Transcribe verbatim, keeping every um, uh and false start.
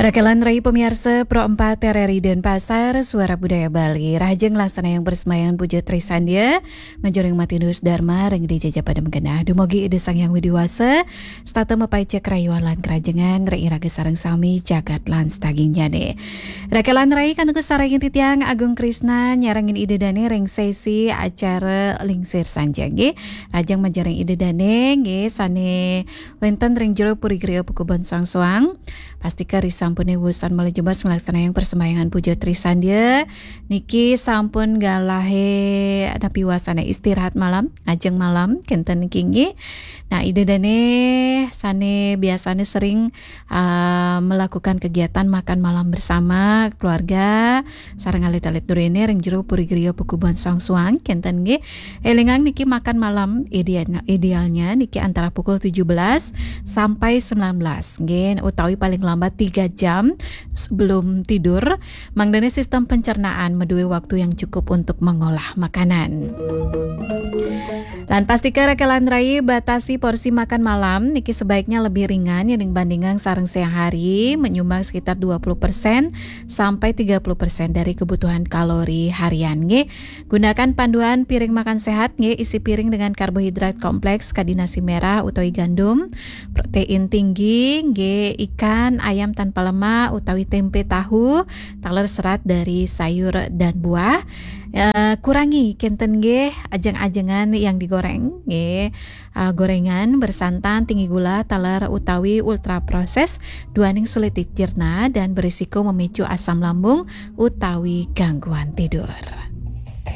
Rakelan rai pamiarsa Pro empat R R I Denpasar, Suara Budaya Bali. Rahajeng nglaksanayang parsembahyang puja Trisandia, manjeng ring Matinus Dharma, ring Ida Jaja Padem Genah. Dumugi Ida Sang Hyang Widhi Wasa, setata mapaica karayuan lan karahajengan ring iraga sareng sami jagat lan sadagingnyane. Rakelan rai kantun kasarengin titiang Agung Krisna nyarengin Ida Dane ring sesi acara Lingsir Sanjaya nggih. Rahajeng manjeng ring Ida Dane nggih sane wenten ring jero Puri Griya Pakubunan Soang-Soang. Pastika risampune wusan malih jebos nglaksanayang parsembahyang puja Trisandia. Niki sampun galahe napi wasane istirahat malam, ngajeng malam, kenten niki nggih. Nah, Ida Dane sane biasane sering, ah, melakukan kegiatan makan malam bersama keluarga, sareng alit-alit durene ring jero Puri Griya Pakubunan Soang-Soang, kenten nggih. Elingang niki makan malam idealnya, idealnya niki antara pukul tujuh belas sampai sembilan belas nggih, utawi paling lambat tiga jam sebelum tidur. Mangdane sistem pencernaan madue waktu yang cukup untuk mengolah makanan. Lan pastika rakelan rai batasi porsi makan malam niki sebaiknya lebih ringan ya dibandingkan sareng siang hari, menyumbang sekitar dua puluh persen sampai tiga puluh persen dari kebutuhan kalori harian nggih. Gunakan panduan piring makan sehat nggih, isi piring dengan karbohidrat kompleks kadi nasi merah utawi gandum, protein tinggi nggih, ikan, ayam tanpa lemak utawi tempe tahu, taler serat dari sayur dan buah. Eh, kurangi kenten nggih ajeng-ajengan yang digoreng nggih. Ah, gorengan bersantan tinggi gula, taler utawi ultra proses, duaning sulit dicerna dan berisiko memicu asam lambung utawi gangguan tidur.